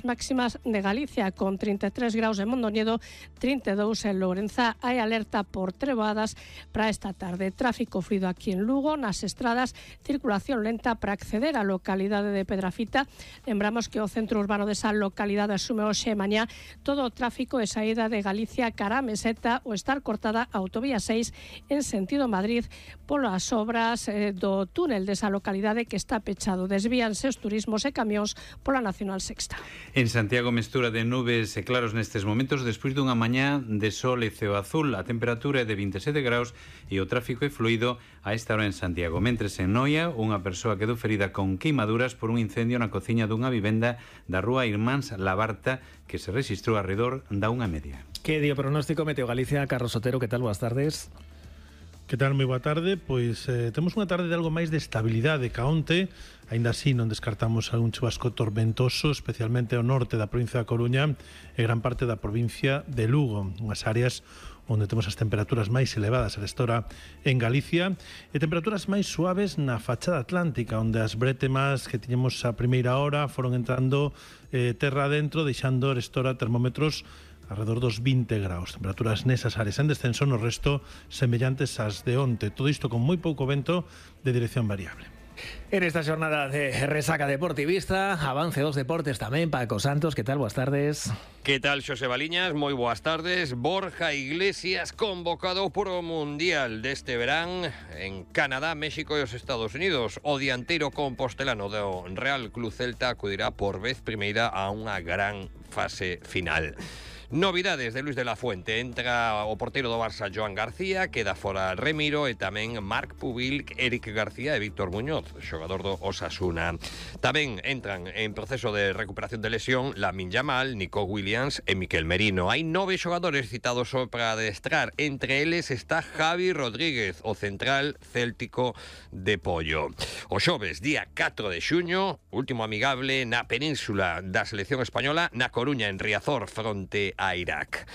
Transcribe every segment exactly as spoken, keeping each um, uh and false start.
as máximas de Galicia, con trinta e tres graus en Mondoñedo, trinta e dous en Lourenza. Hai alerta por trevoadas para esta tarde. Tráfico fluido aquí en Lugo, nas estradas, circulación lenta para acceder á localidade de Pedrafita. Lembramos que o centro urbano desa localidade asume hoxe e mañá todo o tráfico e saída de Galicia cara a Meseta, ou estar cortada a autovía seis en sentido Madrid polas obras eh, do túnel desa localidade que está pechado. Desvíanse os turismos e camións pola Nacional Sexta. En Santiago, mestura de nubes e claros nestes momentos despois dunha mañá de sol e ceo azul. A temperatura é de vinte e sete graus e o tráfico é fluido a esta hora en Santiago. Mentres en Noia, unha persoa quedou ferida con queimaduras por un incendio na cociña dunha vivenda da rúa Irmáns Labarta que se rexistrou arredor da unha media. Que dio pronóstico Meteo Galicia? Carlos Sotero, que tal? Boas tardes. Que tal? Moi boa tarde. Pois eh, temos unha tarde de algo máis de estabilidade ca onte. Aínda así non descartamos algún chubasco tormentoso, especialmente ao norte da provincia da Coruña e gran parte da provincia de Lugo, unhas áreas onde temos as temperaturas máis elevadas a esta hora en Galicia, e temperaturas máis suaves na fachada atlántica, onde as brétemas que tiñemos a primeira hora foron entrando eh, terra adentro, deixando a esta hora termómetros alrededor dos vinte graus, temperaturas nesas áreas en descenso, no resto semellantes ás de onte, todo isto con moi pouco vento de dirección variable. En esta xornada de resaca deportivista, avance dos deportes tamén. Paco Santos, que tal? Boas tardes. Que tal, Xosé Baliñas? Moi boas tardes. Borja Iglesias convocado por o Mundial deste verán en Canadá, México e os Estados Unidos. O dianteiro compostelano do Real Club Celta acudirá por vez primeira a unha gran fase final. Novidades de Luis de la Fuente. Entra o porteiro do Barça, Joan García, queda fora Remiro e tamén Marc Pubil, Eric García e Víctor Muñoz, xogador do Osasuna. Tamén entran en proceso de recuperación de lesión Lamine Yamal, Nico Williams e Miquel Merino. Hai nove xogadores citados para adestrar. Entre eles está Javi Rodríguez, o central céltico de Pollo. O xoves, día catro de xuño, último amigable na península da selección española, na Coruña, en Riazor, fronte a Irak.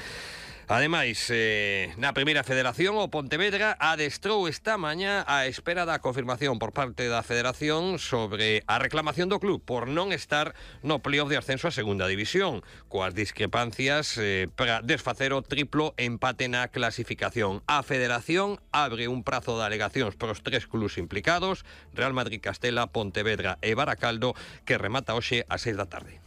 Ademais, eh, na primeira federación, o Pontevedra adestrou esta mañá a espera da confirmación por parte da federación sobre a reclamación do club por non estar no playoff de ascenso a segunda división, coas discrepancias eh, para desfacer o triplo empate na clasificación. A federación abre un prazo de alegacións para os tres clubs implicados, Real Madrid, Castela, Pontevedra e Baracaldo, que remata hoxe ás seis da tarde.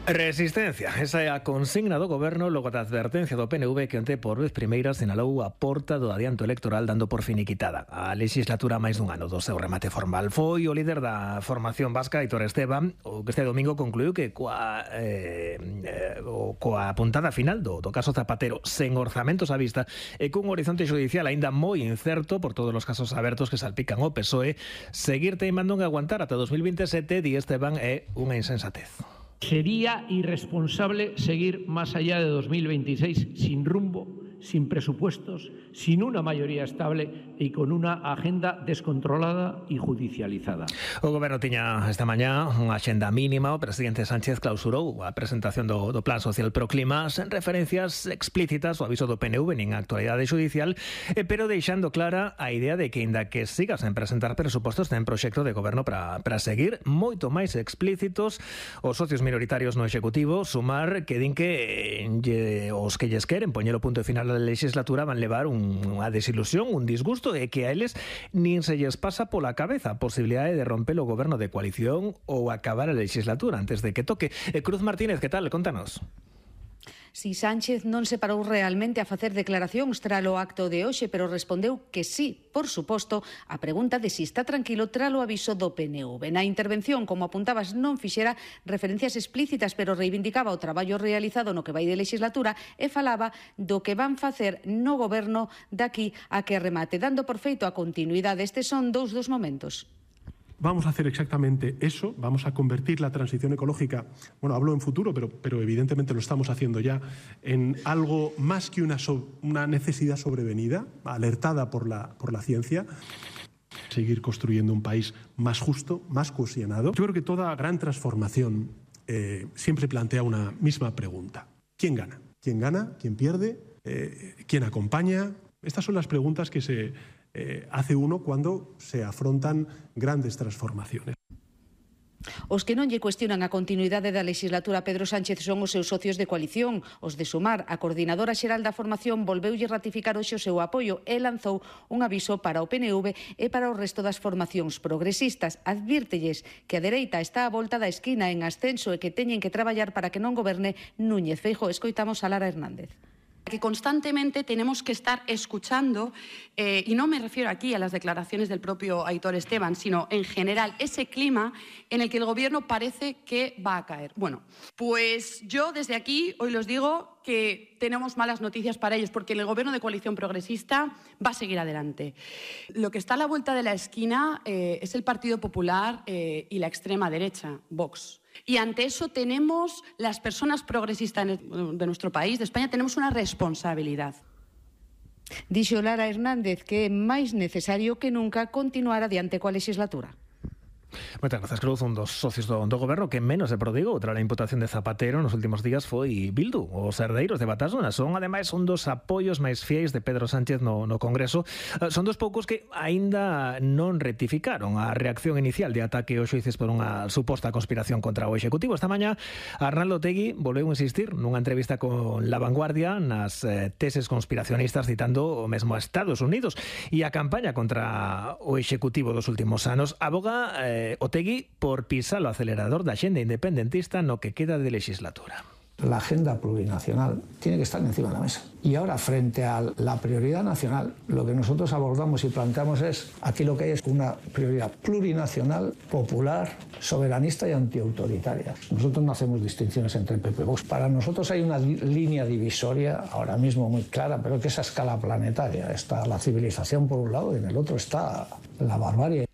Resistencia, esa é a consigna do goberno logo da advertencia do P N V que onte por vez primeira sinalou a porta do adianto electoral dando por finiquitada a legislatura máis dun ano do seu remate formal. Foi o líder da formación vasca, Aitor Esteban, o que este domingo concluiu que coa, eh, eh, coa puntada final do, do caso Zapatero sen orzamentos á vista e cun horizonte judicial aínda moi incerto por todos os casos abertos que salpican o P S O E, seguir teimando en aguantar ata dos mil veintisiete, di Esteban, é unha insensatez. Sería irresponsable seguir más allá de dos mil veintiséis sin rumbo, sin presupuestos, sin una mayoría estable y con una agenda descontrolada y judicializada. O goberno tiña esta mañá unha axenda mínima. O presidente Sánchez clausurou a presentación do, do Plan Social Pro Clima sen referencias explícitas ao aviso do P N V nin a actualidade judicial, eh, pero deixando clara a idea de que, inda que siga sen presentar presupostos, ten proxecto de goberno para, para seguir moito máis explícitos os socios minoritarios no Executivo, sumar que din que eh, os que lles queren poñer o punto final da legislatura van levar un, unha desilusión, un disgusto, e que a eles nin se lles pasa pola cabeza a posibilidade de romper o goberno de coalición ou acabar a legislatura antes de que toque. E Cruz Martínez, que tal? Contanos. Si Sánchez non se parou realmente a facer declaracións tralo acto de hoxe, pero respondeu que sí, por suposto, a pregunta de si está tranquilo tralo aviso do P N V. Na intervención, como apuntabas, non fixera referencias explícitas, pero reivindicaba o traballo realizado no que vai de legislatura e falaba do que van facer no goberno daqui a que remate, dando por feito a continuidade. Estes son dous dos momentos. Vamos a hacer exactamente eso, vamos a convertir la transición ecológica, bueno, hablo en futuro, pero, pero evidentemente lo estamos haciendo ya, en algo más que una, so, una necesidad sobrevenida, alertada por la, por la ciencia. Seguir construyendo un país más justo, más cohesionado. Yo creo que toda gran transformación eh, siempre plantea una misma pregunta. ¿Quién gana? ¿Quién gana? ¿Quién pierde? Eh, ¿Quién acompaña? Estas son las preguntas que se eh, hace uno cuando se afrontan grandes transformaciones. Os que non lle cuestionan a continuidade da legislatura a Pedro Sánchez son os seus socios de coalición. Os de Sumar, a coordinadora xeral da formación, volveulle ratificar hoxe o seu apoio e lanzou un aviso para o P N V e para o resto das formacións progresistas. Advírtelles que a dereita está á volta da esquina en ascenso e que teñen que traballar para que non goberne Núñez Feijóo. Escoitamos a Lara Hernández. Que constantemente tenemos que estar escuchando, eh, y no me refiero aquí a las declaraciones del propio Aitor Esteban, sino en general ese clima en el que el Gobierno parece que va a caer. Bueno, pues yo desde aquí hoy los digo que tenemos malas noticias para ellos, porque el Gobierno de coalición progresista va a seguir adelante. Lo que está a la vuelta de la esquina eh, es el Partido Popular eh, y la extrema derecha, Vox. Y ante eso tenemos, las personas progresistas de nuestro país, de España, tenemos una responsabilidad. Dixo Lara Hernández que é máis necesario que nunca continuar adiante coa legislatura. Moitas grazas, Cruz. Un dos socios do, do goberno que menos se prodigou tras a imputación de Zapatero nos últimos días foi Bildu. Os herdeiros de Batasuna son, ademais, un dos apoios máis fiéis de Pedro Sánchez no, no Congreso. Son dos poucos que aínda non rectificaron a reacción inicial de ataque aos xuíces por unha suposta conspiración contra o Executivo. Esta mañá, Arnaldo Otegi volveu a insistir nunha entrevista con La Vanguardia nas eh, teses conspiracionistas, citando o mesmo a Estados Unidos e a campaña contra o Executivo dos últimos anos. Aboga eh, Otegi por pisar o acelerador da xenda independentista no que queda de legislatura. La agenda plurinacional tiene que estar encima de la mesa. Y ahora, frente a la prioridad nacional, lo que nosotros abordamos y planteamos es, aquí lo que hay es una prioridad plurinacional, popular, soberanista y antiautoritaria. Nosotros no hacemos distinciones entre P P y Vox. Para nosotros hay una línea divisoria, ahora mismo muy clara, pero que es a escala planetaria. Está la civilización por un lado y en el otro está la barbarie.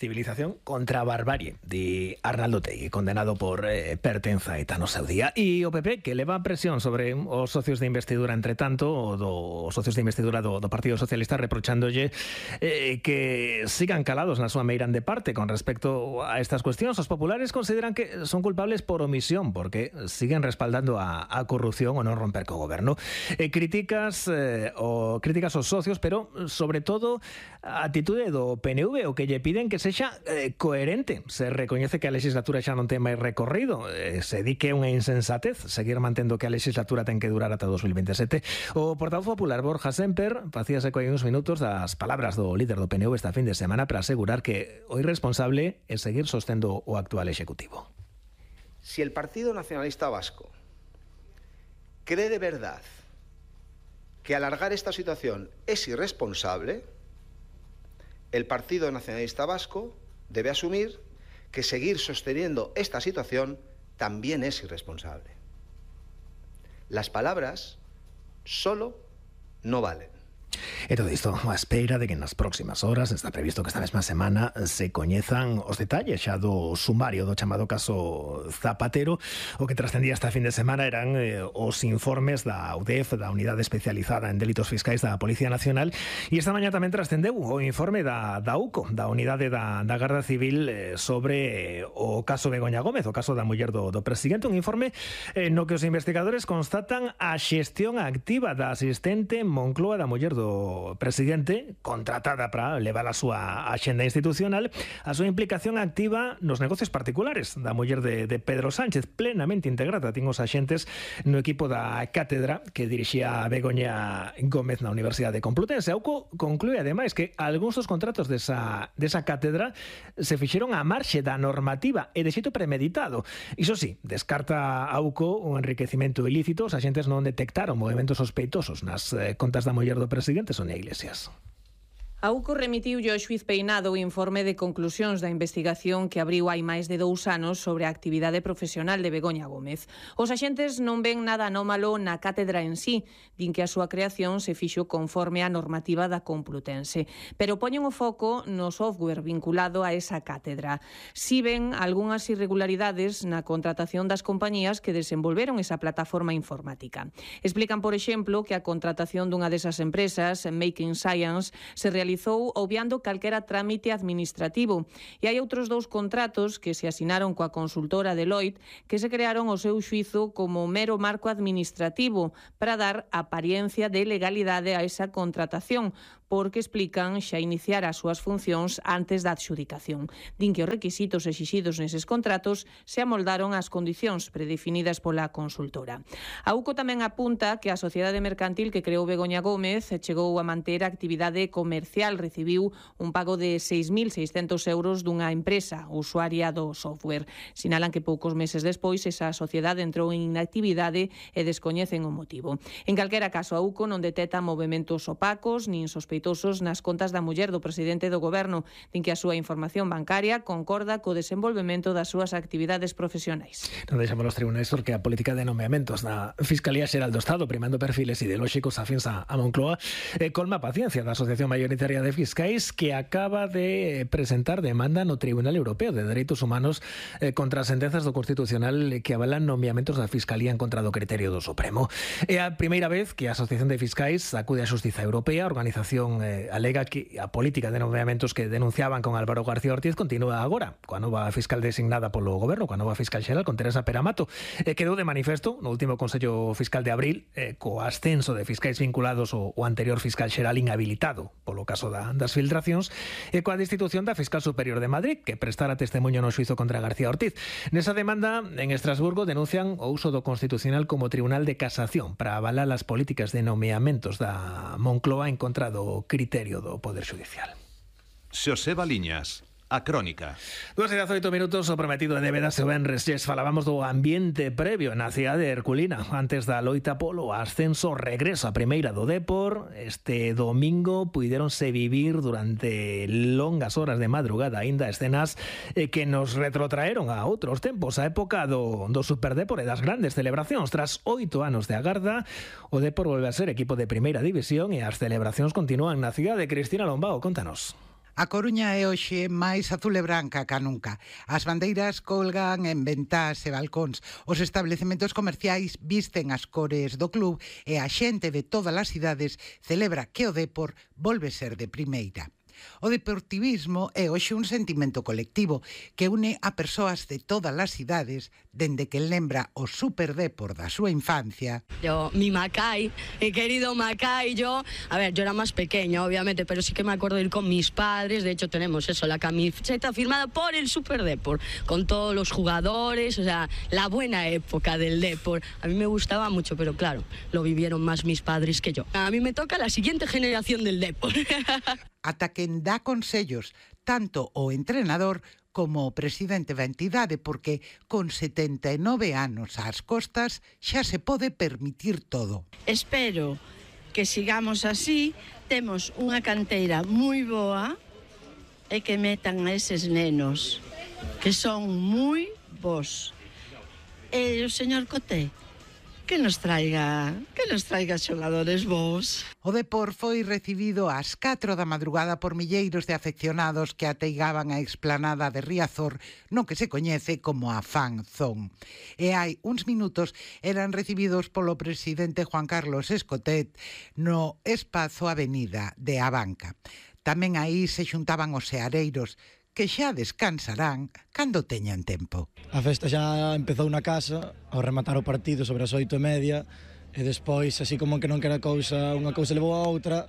Civilización contra a barbarie, de Arnaldo Otegi, condenado por eh, pertenza a ETA no seu día. E o P P, que leva presión sobre os socios de investidura, entre tanto, o do, os socios de investidura do, do Partido Socialista, reprochandolle eh, que sigan calados na súa meirande parte con respecto a estas cuestións. Os populares consideran que son culpables por omisión, porque siguen respaldando a, a corrupción o non romper co goberno. Eh, críticas eh, o críticas aos socios, pero sobre todo a atitude do P N V, o que lle piden que se xa eh, coherente. Se recoñece que a legislatura xa non ten máis recorrido, eh, se di que é unha insensatez seguir mantendo que a legislatura ten que durar ata dos mil veintisiete. O portavoz popular Borja Semper facíase coi uns minutos das palabras do líder do P N V esta fin de semana para asegurar que o irresponsable é seguir sostendo o actual executivo. Si el Partido Nacionalista Vasco cree de verdad que alargar esta situación es irresponsable, el Partido Nacionalista Vasco debe asumir que seguir sosteniendo esta situación también es irresponsable. Las palabras solo no valen. E todo isto a espera de que nas próximas horas está previsto que esta mesma semana se coñezan os detalles xa do sumario do chamado caso Zapatero. O que trascendía esta fin de semana eran eh, os informes da U D E F, da Unidade Especializada en Delitos Fiscais da Policía Nacional, e esta mañá tamén trascendeu o informe da, da U C O, da Unidade da, da Garda Civil, eh, sobre eh, o caso Begoña Gómez, o caso da muller do, do presidente. Un informe eh, no que os investigadores constatan a xestión activa da asistente Moncloa da muller do presidente, contratada para levar a súa axenda institucional, a súa implicación activa nos negocios particulares da muller de, de Pedro Sánchez, plenamente integrada. Tin os axentes no equipo da cátedra que dirixía Begoña Gómez na Universidade Complutense. A U C O conclúe, ademais, que algúns dos contratos desa, desa cátedra se fixeron á marxe da normativa e de xeito premeditado. Iso sí, descarta a U C O un enriquecimento ilícito. Os axentes non detectaron movimentos sospeitosos nas eh, contas da muller do presidente, Sonia Iglesias. A U C O remitiulle ao xuíz Peinado o informe de conclusións da investigación que abriu hai máis de dous anos sobre a actividade profesional de Begoña Gómez. Os axentes non ven nada anómalo na cátedra en sí, din que a súa creación se fixo conforme á normativa da Complutense, pero poñen o foco no software vinculado a esa cátedra. Si ven algunhas irregularidades na contratación das compañías que desenvolveron esa plataforma informática. Explican, por exemplo, que a contratación dunha desas empresas, Making Science, se realizou finalizou obviando calquera trámite administrativo. E hai outros dous contratos que se asinaron coa consultora Deloitte que se crearon o seu xuizo como mero marco administrativo para dar apariencia de legalidade a esa contratación, porque explican xa iniciar as súas funcións antes da adxudicación. Din que os requisitos exixidos neses contratos se amoldaron ás condicións predefinidas pola consultora. A U C O tamén apunta que a sociedade mercantil que creou Begoña Gómez chegou a manter a actividade comercial, recibiu un pago de seis mil seiscentos euros dunha empresa usuaria do software. Sinalan que poucos meses despois esa sociedade entrou en inactividade e descoñecen o motivo. En calquera caso, a U C O non detecta movementos opacos nin sospeitosos nas contas da muller do presidente do goberno. Din que a súa información bancaria concorda co desenvolvemento das súas actividades profesionais. Non deixamos os tribunais porque a política de nomeamentos da Fiscalía Xeral do Estado, primando perfiles ideolóxicos afíns a Moncloa, eh, colma a paciencia da Asociación Mayoritaria de Fiscais, que acaba de presentar demanda no Tribunal Europeo de Dereitos Humanos eh, contra as sentenzas do Constitucional que avalan nomeamentos da Fiscalía en contra do criterio do Supremo. É a primeira vez que a Asociación de Fiscais acude á Xustiza Europea. A organización eh, alega que a política de nomeamentos que denunciaban con Álvaro García Ortiz continúa agora, coa nova fiscal designada polo goberno, coa nova fiscal xeral, con Teresa Peramato. Eh, quedou de manifesto no último Consello Fiscal de abril eh, co ascenso de fiscais vinculados ao, ao anterior fiscal xeral inhabilitado polo caso da, das filtracións e coa destitución da fiscal superior de Madrid, que prestara testemunho no xuizo contra García Ortiz. Nesa demanda, en Estrasburgo, denuncian o uso do Constitucional como tribunal de casación para avalar as políticas de nomeamentos da Moncloa en contra do criterio do Poder Judicial. Xosé Baliñas, a Crónica. Dos e dezaoito minutos, o prometido de débeda se venres. Yes, falábamos do ambiente previo na cidade de Herculina antes da loita polo ascenso, regreso a primeira do Dépor. Este domingo puidéronse vivir durante longas horas de madrugada aínda escenas eh, que nos retrotraeron a outros tempos, a época do, do Superdépor e das grandes celebracións. Tras oito anos de agarda, o Dépor volve a ser equipo de primeira división e as celebracións continúan na cidade. Cristina Lombao, contanos. A Coruña é hoxe máis azul e branca ca nunca. As bandeiras colgan en ventás e balcóns. Os establecementos comerciais visten as cores do club e a xente de todas as cidades celebra que o Dépor volve ser de primeira. O deportivismo é hoxe un sentimento colectivo que une a persoas de todas as cidades dende que lembra o Superdépor da súa infancia. Yo, mi Macay, mi querido Macay, yo, a ver, yo era más pequeña, obviamente, pero sí que me acuerdo de ir con mis padres. De hecho, tenemos eso, la camiseta firmada por el Superdépor, con todos los jugadores, o sea, la buena época del Dépor. A mí me gustaba mucho, pero claro, lo vivieron más mis padres que yo. A mí me toca la siguiente generación del Dépor. Ata quen dá consellos, tanto o entrenador como o presidente da entidade, porque con setenta e nove anos ás costas xa se pode permitir todo. Espero que sigamos así, temos unha canteira moi boa e que metan a eses nenos, que son moi bons. E o señor Coté, que nos traiga, que nos traiga xogadores bons. O Dépor foi recibido ás catro da madrugada por milleiros de afeccionados que ateigaban a explanada de Riazor, no que se coñece como a Fan Zone. E hai uns minutos eran recibidos polo presidente Juan Carlos Escotet no espazo Avenida de Abanca. Tamén aí se xuntaban os seareiros, que xa descansarán cando teñan tempo. A festa xa empezou na casa, ao rematar o partido sobre as oito e media, e despois, así como que non quera cousa, unha cousa levou a outra.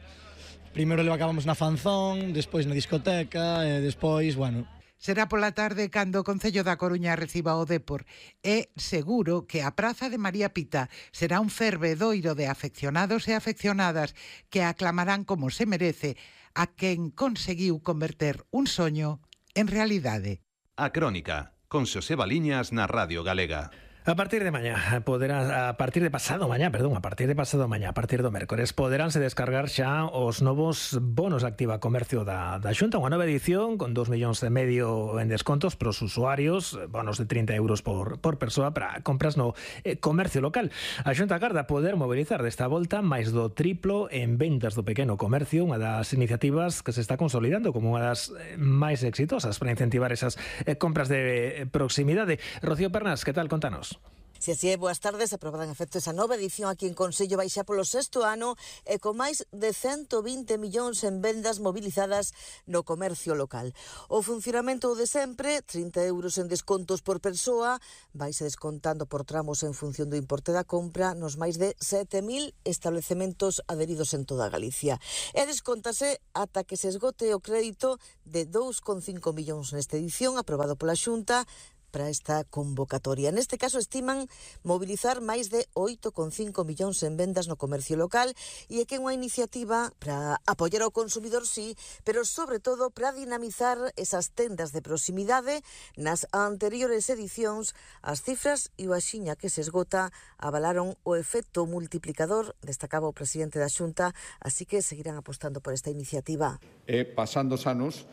Primeiro levacábamos na Fanzón, despois na discoteca, e despois, bueno... Será pola tarde cando o Concello da Coruña reciba o Dépor. É seguro que a Praza de María Pita será un fervedoiro de afeccionados e afeccionadas que aclamarán como se merece a quen conseguiu converter un soño en realidade. A Crónica, con Xosé Baliñas na Radio Galega. A partir de mañá, poderá, a partir de pasado mañá, perdón, a partir de pasado mañá, a partir do mércores, poderánse descargar xa os novos bonos Activa Comercio da, da Xunta, unha nova edición con dos millóns e medio en descontos para os usuarios, bonos de trinta euros por, por persoa para compras no eh, comercio local. A Xunta agarda poder mobilizar desta volta máis do triplo en ventas do pequeno comercio, unha das iniciativas que se está consolidando como unha das máis exitosas para incentivar esas eh, compras de proximidade. Rocío Pernas, que tal? Contanos. Se así é, boas tardes, aprobada en efecto esa nova edición aquí en Consello, vai xa polo sexto ano e con máis de cento vinte millóns en vendas movilizadas no comercio local. O funcionamento de sempre, trinta euros en descontos por persoa, vaise descontando por tramos en función do importe da compra nos máis de sete mil establecementos adheridos en toda Galicia. E descontase ata que se esgote o crédito de dous coma cinco millóns nesta edición, aprobado pola Xunta, para esta convocatoria. Neste caso estiman mobilizar máis de oito coma cinco millóns en vendas no comercio local e é que é unha iniciativa para apoiar ao consumidor, sí, pero sobre todo para dinamizar esas tendas de proximidade. Nas anteriores edicións, as cifras e o axiña que se esgota avalaron o efecto multiplicador, destacaba o presidente da Xunta, así que seguirán apostando por esta iniciativa. E pasando os anos,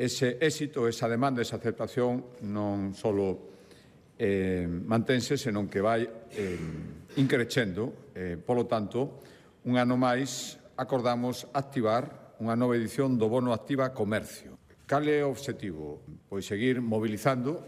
ese éxito, esa demanda, esa aceptación non só eh, mantense, senón que vai eh, increcendo. Eh, polo tanto, un ano máis acordamos activar unha nova edición do Bono Activa Comercio. Cal é o obxectivo? Pois seguir mobilizando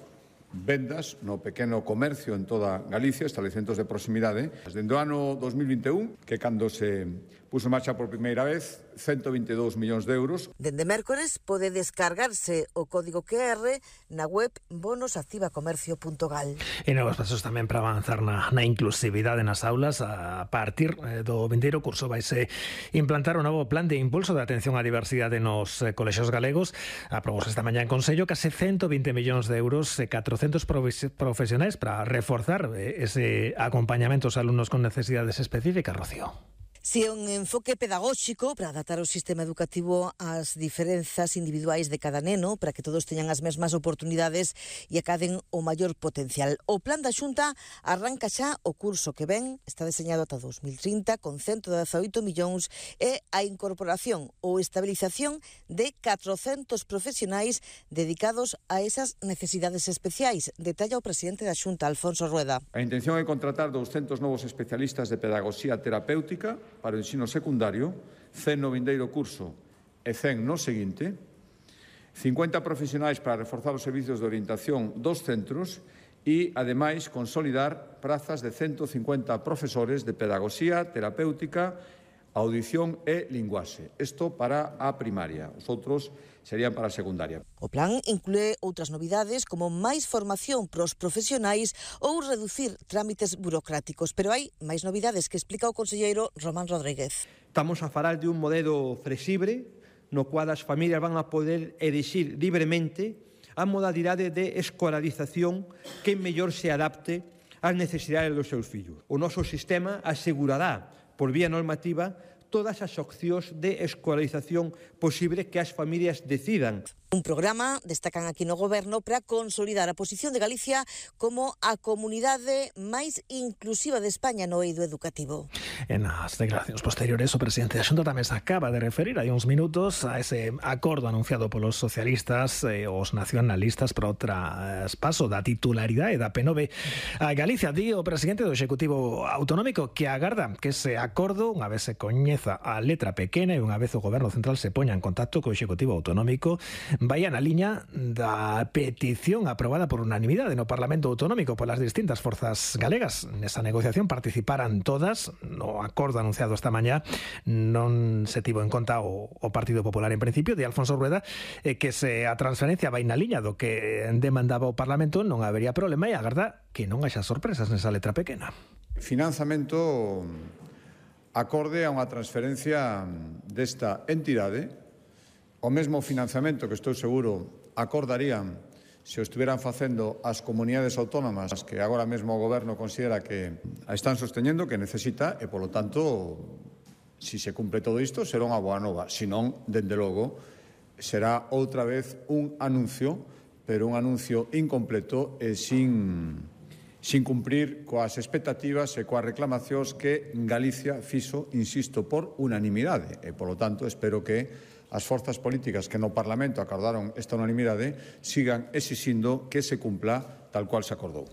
vendas no pequeno comercio en toda Galicia, establecementos de proximidade. Desde o ano dos mil vinte e un, que cando se puso en marcha por primeira vez, cento vinte e dous millóns de euros. Dende mércores pode descargarse o código Q R na web bonos activa comercio punto gal. E novos pasos tamén para avanzar na, na inclusividade nas aulas. A partir do vindeiro curso vaise implantar un novo plan de impulso de atención á diversidade nos colexios galegos. Aprobouse esta mañá en Consello case cento vinte millóns de euros e catrocentos profesionais para reforzar ese acompañamento aos alumnos con necesidades específicas, Rocío. Si é un enfoque pedagóxico para adaptar o sistema educativo ás diferenzas individuais de cada neno, para que todos teñan as mesmas oportunidades e acaden o maior potencial. O plan da Xunta arranca xa o curso que ven, está deseñado ata dos mil trinta, con ciento dezaoito millóns, e a incorporación ou estabilización de catrocentos profesionais dedicados a esas necesidades especiais, detalla o presidente da Xunta, Alfonso Rueda. A intención é contratar douscentos novos especialistas de pedagogía terapéutica para o ensino secundario, cen no vindeiro curso e cen no seguinte, cincuenta profesionais para reforzar os servizos de orientación dos centros e, ademais, consolidar prazas de ciento cincuenta profesores de pedagogía terapéutica, audición e linguaxe. Isto para a primaria. Os outros serían para a secundaria. O plan inclúe outras novidades como máis formación pros profesionais ou reducir trámites burocráticos, pero hai máis novidades que explica o conselleiro Román Rodríguez. Estamos a falar de un modelo flexible no cual as familias van a poder elixir libremente a modalidade de escolarización que mellor se adapte ás necesidades dos seus fillos. O noso sistema asegurará por vía normativa todas as opcións de escolarización posible que as familias decidan. Un programa, destacan aquí no Goberno, para consolidar a posición de Galicia como a comunidade máis inclusiva de España no eido educativo. En as declaracións posteriores, o presidente da Xunta tamén se acaba de referir hai uns minutos a ese acordo anunciado polos socialistas e os nacionalistas para o traspaso da titularidade da P nove a Galicia. Di o presidente do Executivo Autonómico que agarda que ese acordo, unha vez se coñeza a letra pequena e unha vez o Goberno Central se poña en contacto co Executivo Autonómico, vaya na liña da petición aprobada por unanimidade no Parlamento Autonómico polas distintas forzas galegas. Nesa negociación participaran todas. No acordo anunciado esta mañá non se tivo en conta o, o Partido Popular en principio, de Alfonso Rueda, eh, que se a transferencia vai na liña do que demandaba o Parlamento, non habería problema, e agarda que non haxa sorpresas nesa letra pequena. Financiamento acorde a unha transferencia desta entidade, o mesmo financiamento que estou seguro acordarían se o estiveran facendo as comunidades autónomas que agora mesmo o Goberno considera que a están sosteñendo, que necesita, e, polo tanto, si se cumpre todo isto, será unha boa nova. Si non, dende logo, será outra vez un anuncio, pero un anuncio incompleto e sin, sin cumprir coas expectativas e coas reclamacións que Galicia fixo, insisto, por unanimidade. E, polo tanto, espero que as forzas políticas que no Parlamento acordaron esta unanimidade sigan exixindo que se cumpla tal cual se acordou.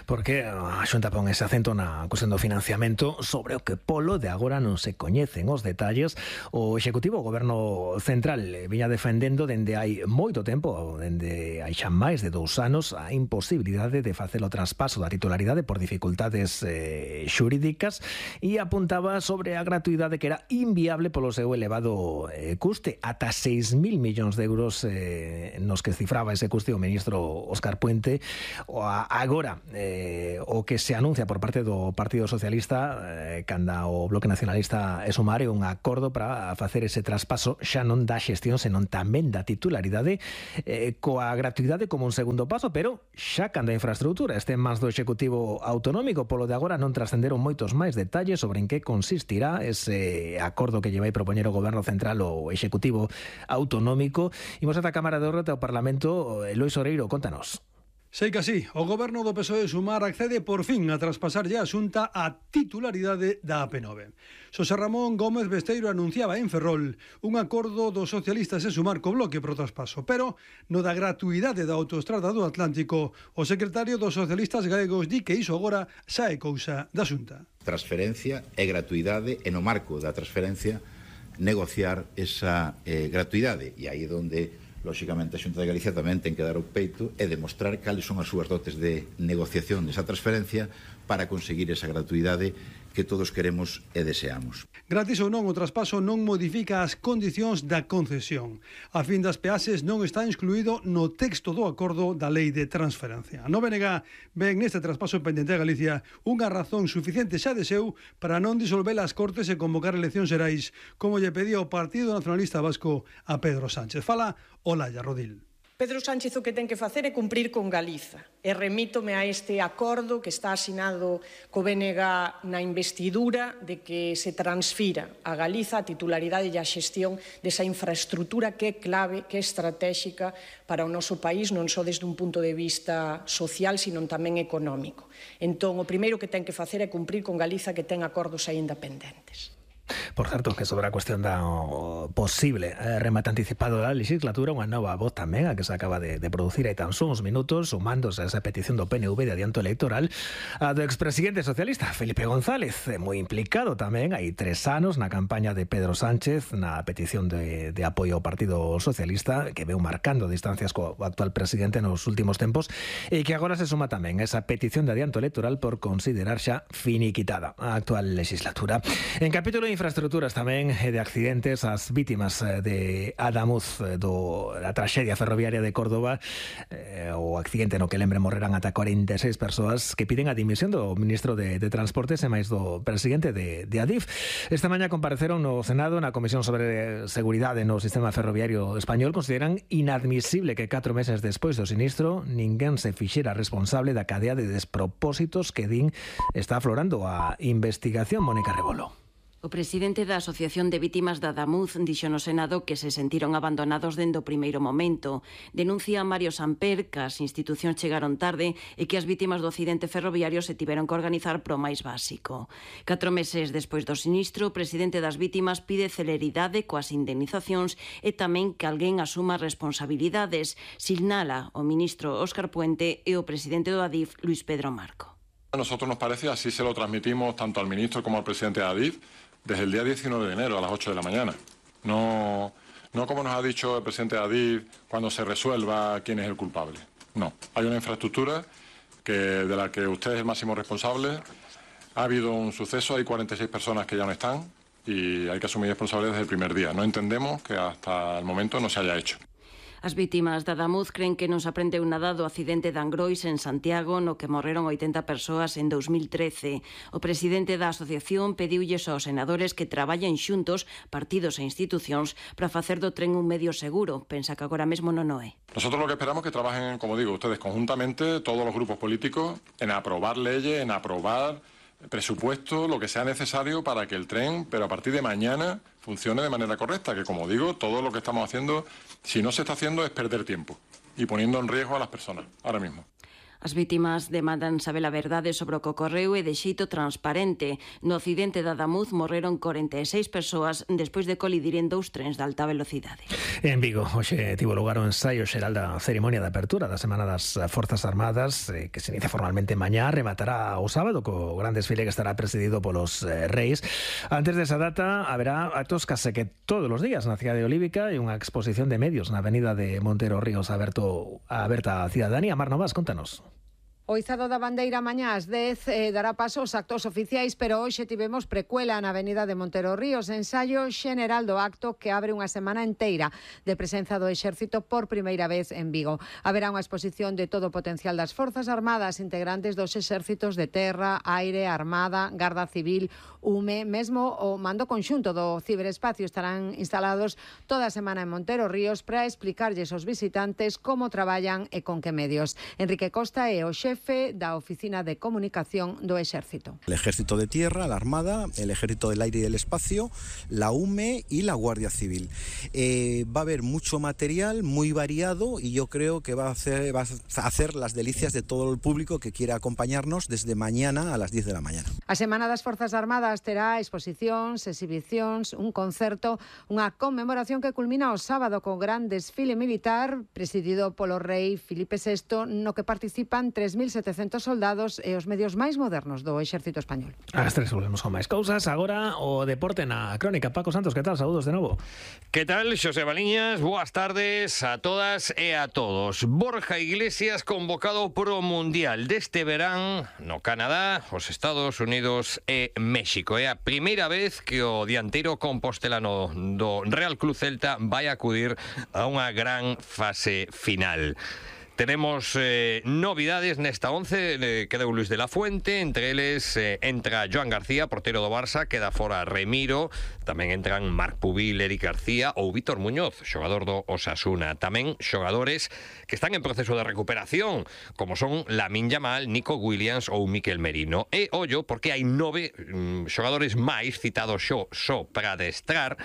Porque a Xunta pon ese acento na cuestión do financiamento sobre o que polo de agora non se coñecen os detalles. O Executivo, o Goberno Central, viña defendendo dende hai moito tempo, dende hai xa máis de dous anos, a imposibilidade de facer o traspaso da titularidade por dificultades eh, xurídicas, e apuntaba sobre a gratuidade que era inviable polo seu elevado eh, custe, ata seis mil millóns de euros eh, nos que cifraba ese custe o ministro Óscar Puente. O a, agora, eh, o que se anuncia por parte do Partido Socialista, eh, canda o Bloque Nacionalista e Sumar, é un acordo para facer ese traspaso xa non da xestión, senón tamén da titularidade, eh, coa gratuidade como un segundo paso, pero xa canda a infraestructura este máis do Executivo Autonómico. Polo de agora non trascenderon moitos máis detalles sobre en que consistirá ese acordo que lle vai propoñer o Goberno Central o Executivo Autonómico. Imos ata a Cámara de Horta, ao Parlamento. Lois Oreiro, contanos. Sei que así, o Goberno do P S O E Sumar accede por fin a traspasarlle a Xunta a titularidade da A P nove. Xosé Ramón Gómez Besteiro anunciaba en Ferrol un acordo dos socialistas e Sumar co Bloque pro traspaso, pero no da gratuidade da autoestrada do Atlántico, o secretario dos socialistas galegos di que iso agora xa é cousa da Xunta. Transferencia e gratuidade, e no marco da transferencia negociar esa eh, gratuidade, e aí é onde lóxicamente a Xunta de Galicia tamén ten que dar o peito e demostrar cales son as súas dotes de negociación desa transferencia para conseguir esa gratuidade que todos queremos e deseamos. Gratis ou non, o traspaso non modifica as condicións da concesión. A fin das peaxes non está excluído no texto do acordo da Lei de Transferencia. A Nove N G ven neste traspaso pendente a Galicia unha razón suficiente xa de seu para non disolver as Cortes e convocar eleccións xerais, como lle pedía o Partido Nacionalista Vasco a Pedro Sánchez. Fala Olaya Rodil. Pedro Sánchez o que ten que facer é cumprir con Galiza. E remítome a este acordo que está asinado co B N G na investidura de que se transfira a Galiza a titularidade e a xestión desa infraestructura que é clave, que é estratéxica para o noso país, non só desde un punto de vista social, sino tamén económico. Entón, o primeiro que ten que facer é cumprir con Galiza, que ten acordos aínda pendentes. Por certo, que sobre a cuestión da o posible eh, remate anticipado da legislatura, unha nova voz tamén a que se acaba de, de producir hai tan só uns minutos, sumándose a esa petición do P N V de adianto electoral, a do expresidente socialista Felipe González, moi implicado tamén hai tres anos na campaña de Pedro Sánchez, na petición de, de apoio ao Partido Socialista, que veu marcando distancias co actual presidente nos últimos tempos, e que agora se suma tamén a esa petición de adianto electoral por considerar xa finiquitada a actual legislatura. En capítulo de infraestructuras tamén de accidentes, as vítimas de Adamuz, do a traxedia ferroviaria de Córdoba, eh, o accidente no que lembre morreran ata cuarenta e seis persoas, que piden a dimisión do ministro de, de Transportes e máis do presidente de, de Adif. Esta mañá compareceron no Senado na Comisión sobre Seguridade no Sistema Ferroviario Español. Consideran inadmisible que catro meses despois do sinistro ninguén se fixera responsable da cadea de despropósitos que din está aflorando a investigación. Mónica Rebolo. O presidente da Asociación de Vítimas da Adamuz dixo no Senado que se sentiron abandonados dende o primeiro momento. Denuncia Mario Samper que as institucións chegaron tarde e que as vítimas do accidente ferroviario se tiveron que organizar pro máis básico. Catro meses despois do sinistro, o presidente das vítimas pide celeridade coas indemnizacións e tamén que alguén asuma responsabilidades, sinala o ministro Óscar Puente e o presidente do Adif, Luis Pedro Marco. A nosotros nos parece, así se lo transmitimos tanto al ministro como al presidente de Adif, desde el día diecinueve de enero a las ocho de la mañana. No, no como nos ha dicho el presidente de Adif, cuando se resuelva quién es el culpable. No, hay una infraestructura que, de la que usted es el máximo responsable. Ha habido un suceso, hay cuarenta y seis personas que ya no están y hay que asumir responsabilidades desde el primer día. No entendemos que hasta el momento no se haya hecho. As vítimas da Adamuz creen que non se aprendeu nada do accidente de Angrois en Santiago, no que morreron oitenta persoas en dos mil trece. O presidente da asociación pediulles aos senadores que traballen xuntos, partidos e institucións, para facer do tren un medio seguro. Pensa que agora mesmo non o é. Nosotros lo que esperamos es que trabajen, como digo, ustedes conjuntamente, todos los grupos políticos, en aprobar leyes, en aprobar presupuesto, lo que sea necesario para que el tren, pero a partir de mañana, funcione de manera correcta, que como digo, todo lo que estamos haciendo, si no se está haciendo, es perder tiempo y poniendo en riesgo a las personas, ahora mismo. As vítimas demandan saber a verdade sobre o que ocorreu e de xeito transparente. No accidente da Adamuz morreron corenta e seis persoas despois de colidir en dous trens de alta velocidade. En Vigo, hoxe tivo lugar o ensaio xeral da ceremonia de apertura da Semana das Forzas Armadas, eh, que se inicia formalmente mañá, rematará o sábado co gran desfile que estará presidido polos eh, reis. Antes desa data haberá actos case que todos os días na cidade olívica e unha exposición de medios na avenida de Montero Ríos aberto, aberta a cidadanía. Mar Novas, contanos. O izado da bandeira mañá ás dez eh, dará paso aos actos oficiais, pero hoxe tivemos precuela na avenida de Montero Ríos, ensaio xeneral do acto que abre unha semana enteira de presenza do Exército por primeira vez en Vigo. Haberá unha exposición de todo o potencial das Forzas Armadas, integrantes dos exércitos de terra, aire, armada, garda civil, U M E, mesmo o mando conxunto do ciberespacio estarán instalados toda a semana en Montero Ríos para explicarlles aos visitantes como traballan e con que medios. Enrique Costa é o xefe da Oficina de Comunicación do Exército. El Ejército de Tierra, la Armada, el Ejército del Aire y del Espacio, la U M E y la Guardia Civil. Eh, va a haber mucho material muy variado y yo creo que va a, hacer, va a hacer las delicias de todo el público que quiera acompañarnos desde mañana a las diez de la mañana. A Semana das Forzas Armadas terá exposicións, exhibicións, un concerto, unha conmemoración que culmina o sábado con gran desfile militar presidido polo rei Filipe sexto, no que participan tres mil setecentos soldados e os medios máis modernos do Exército Español. As tres volvemos con máis cousas. Agora o deporte na crónica. Paco Santos, que tal? Saúdos de novo. Que tal, Xosé Baliñas? Boas tardes a todas e a todos. Borja Iglesias convocado pro Mundial deste verán no Canadá, os Estados Unidos e México. É a primeira vez que o dianteiro compostelano do Real Club Celta vai acudir a unha gran fase final. Tenemos eh, novidades nesta once, eh, quedou Luis de la Fuente, entre eles eh, entra Joan García, portero do Barça, queda fora Remiro, tamén entran Marc Pubil, Eric García ou Vítor Muñoz, xogador do Osasuna. Tamén xogadores que están en proceso de recuperación, como son Lamine Yamal, Nico Williams ou Mikel Merino. E ollo, porque hai nove mm, xogadores máis citados xo, xo para adestrar.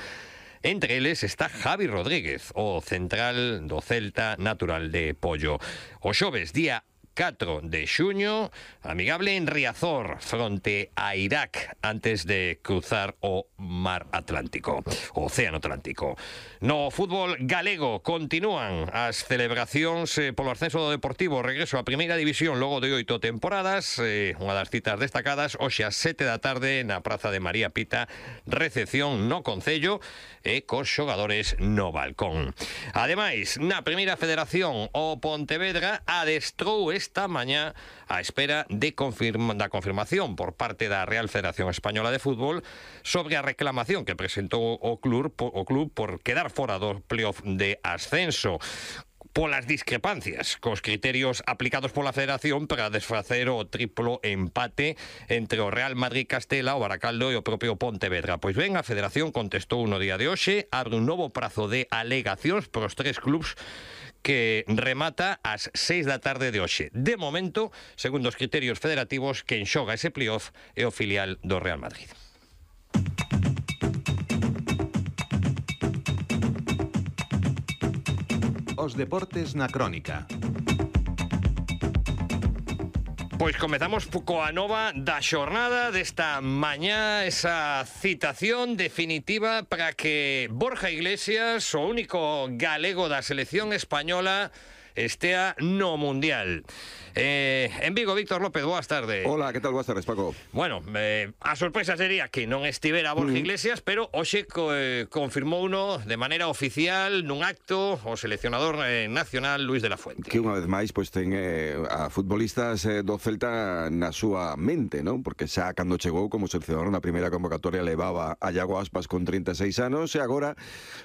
Entre eles está Javi Rodríguez, o central do Celta natural de Pollo. O xoves, día catro de xuño, amigable en Riazor, fronte a Irak, antes de cruzar o mar Atlántico, o Océano Atlántico. No fútbol galego continúan as celebracións eh, polo ascenso do Deportivo, regreso a Primeira División logo de oito temporadas, eh, unha das citas destacadas, hoxe ás sete da tarde na Praza de María Pita, recepción no Concello e cos xogadores no balcón. Ademais, na Primeira Federación, o Pontevedra adestrou esta mañá á espera de confirma, da confirmación por parte da Real Federación Española de Fútbol sobre a reclamación que presentou o club, o club por quedar fora do playoff de ascenso polas discrepancias cos criterios aplicados pola Federación para desfacer o triplo empate entre o Real Madrid Castela, o Baracaldo e o propio Pontevedra. Pois ben, a Federación contestou no día de hoxe, abre un novo prazo de alegacións pros tres clubs que remata ás seis da tarde de hoxe. De momento, segundo os criterios federativos, quen xoga ese playoff é o filial do Real Madrid. Os deportes na crónica. Pois comezamos coa nova da xornada desta mañá, esa citación definitiva para que Borja Iglesias, o único galego da selección española, estea no Mundial. Eh, en Vigo, Víctor López, boas tardes. Hola, que tal? Boas tardes, Paco. Bueno, eh, a sorpresa sería que non estivera Borja mm. Iglesias, pero hoxe co, eh, confirmou uno de maneira oficial nun acto o seleccionador eh, nacional Luis de la Fuente. Que unha vez máis pois ten eh, a futbolistas eh, do Celta na súa mente, non? Porque xa cando chegou como seleccionador na primeira convocatoria levaba a Iago Aspas con trinta e seis anos e agora,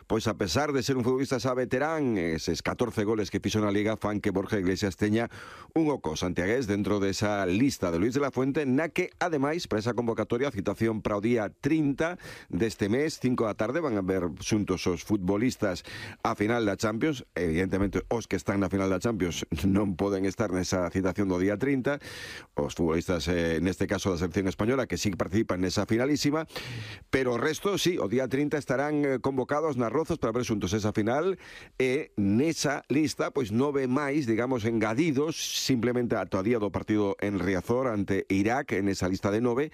pois a pesar de ser un futbolista xa veterán, eses catorce goles que fixo na Liga fan que Borja Iglesias teña un oco santiagués dentro desa lista de Luis de la Fuente, na que, ademais, para esa convocatoria, a citación para o día trinta deste mes, cinco da tarde, van a ver xuntos os futbolistas a final da Champions. Evidentemente, os que están na final da Champions non poden estar nesa citación do día trinta. Os futbolistas, eh, neste caso da selección española, que sí participan nesa finalísima, pero o resto, sí, o día trinta estarán convocados nas Rozas para ver xuntos esa final, e nesa lista, pois, nove nove máis, digamos, engadidos simplemente a todavía do partido en Riazor ante Irak en esa lista de nove.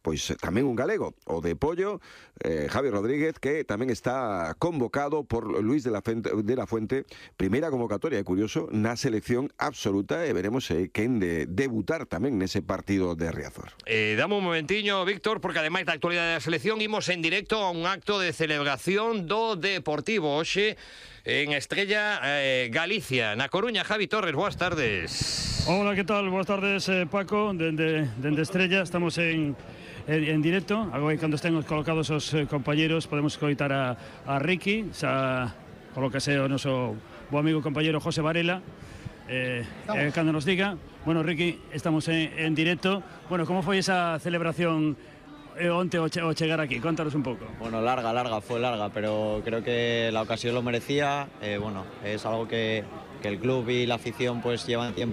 Pois tamén un galego, o de Pollo, eh, Javi Rodríguez, que tamén está convocado por Luis de la, Fuente, de la Fuente, primeira convocatoria, é curioso, na selección absoluta, e veremos eh, quen de debutar tamén nese partido de Riazor. Eh, dame un momentiño, Víctor, porque ademais da actualidade da selección imos en directo a un acto de celebración do Deportivo hoxe en Estrella eh, Galicia, na Coruña. Javi Torres, boas tardes. Hola, que tal? Boas tardes, eh, Paco, dende, dende Estrella, estamos en En, en directo, agora cando estén colocados os eh, compañeros podemos coitar a, a Ricky, xa colócase o noso bo amigo compañero José Varela, eh, eh, cando nos diga. Bueno, Ricky, estamos en, en directo. Bueno, como foi esa celebración eh, onte o, che, o chegar aquí? Contanos un pouco. Bueno, larga, larga, fue larga, pero creo que la ocasión lo merecía. Eh, bueno, es algo que, que el club y la afición pues llevan tiempo